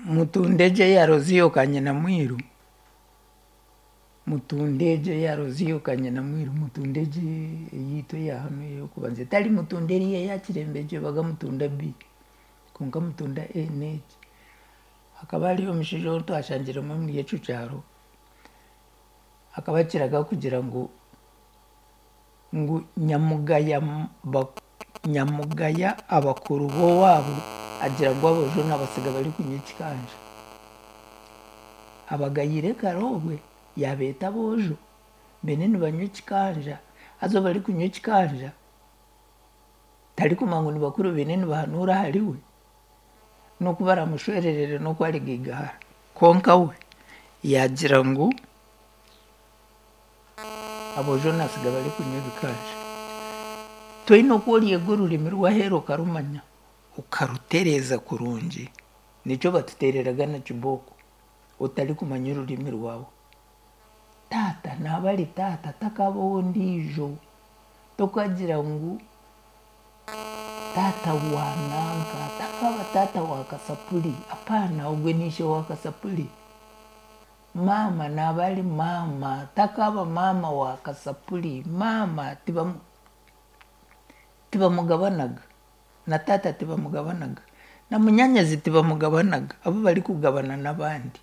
Mutunda egyo eya Roziyo Kanyinamwiru, mutunda egyo eya Roziyo Kanyinamwiru, mutunda egyo eyaitu eya hanu ey'okubanza etari mutunda eriya eya Kirembe egyo ebaga mutunda B kwonka mutunda A n'egi. Hakaba hariyo omushaija ou twashangiremu omuri ekyo kyaro, akaba akiraga kugira ngu ngu nyamugaya nyamugaya abakuru b'owaabo agira ngu aboojo nabasiga barikunywa ekikanja. Abagayire kare obwe yaabeeta aboojo mbwenu nibanywa ekikanja haza obu barikunywa ekikanja tarikumanya ngu ni bakuru baine nibahanuura ahariwe n'oku baramushwererere n'oku arigaigahara. Kwonka we yaagira ngu aboojo naatsiga barikunywa ebikanja. Toine oku oryega orurimi rw'aheeru okarumanya okarutereeza kurungi, nikyo batuteereraga na kibooko otarikumanya orurimi rwawe. Taata naaba ari taata takaaba ow'ondiijo, tokagira ngu taata wa nanka, takaaba taata wa kasapuri, apaana ogwe n'eishe wa kasapuri. Maama naaba ari maama takaaba maama wa kasapuri, maama tibamu tibamugabanaga na taata tibamugabanaga na munyaanyazi tibamugabanaga, abu barikugabana n'abandi.